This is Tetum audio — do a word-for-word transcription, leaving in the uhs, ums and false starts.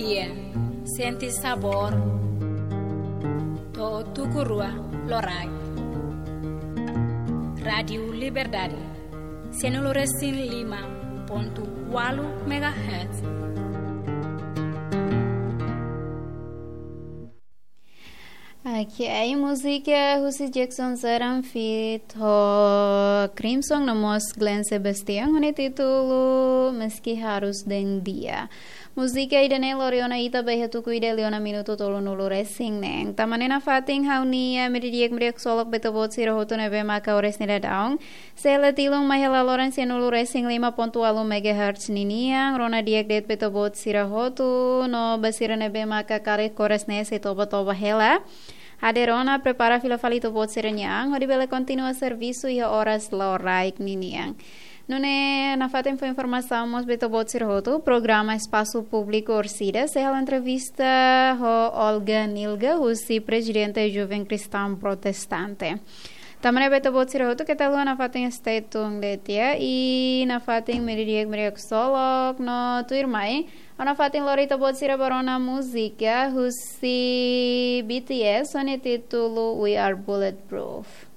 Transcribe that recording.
Iya, sente sabór. To'o tuku rua loraik. Rádiu Liberdade, sianulu resin lima pontu ualu megahertz. Oke, múzika husi Jackson Zeran feat ho Crimson no mós Glenn Sebastian, ho nia títulu Meski Harus Dehan Dia. Múzika ida-ne'e lori ona ita ba iha tuku ida liu ona minutu tolunulu resin neen. Tanba ne'e nafatin ha'u-nia meiudia di'ak, meiudia ksolok ba ita-boot sira hotu ne'ebé maka oras ne'e daudaun sei hela tilun mai hela loron sianulu resin lima pontu ualu megahertz ninian. Rona di'ak de'it ba ita-boot sira hotu, no ba sira ne'ebé maka karik oras ne'e sei toba-toba hela, hadeer ona, prepara fila fali ita-boot sira-nia an, hodi bele kontinua servisu iha oras loraik ninian. Nune'e nafatin fó informasaun mós ba ita-boot sira hotu, programa Espasu Públiku orsida sei halo entrevista ho Olga Nilga, husi Prezidente Joven Kristaun Protestante. Tanba ne'e ba ita-boot sira hotu keta haluha nafatin stay tuned de'it ya, i nafatin meiudia di'ak, meiudia ksolok no tuirmai ha'u nafatin lori ita-boot sira ba rona múzika husi B T S ho nia títulu We Are Bulletproof.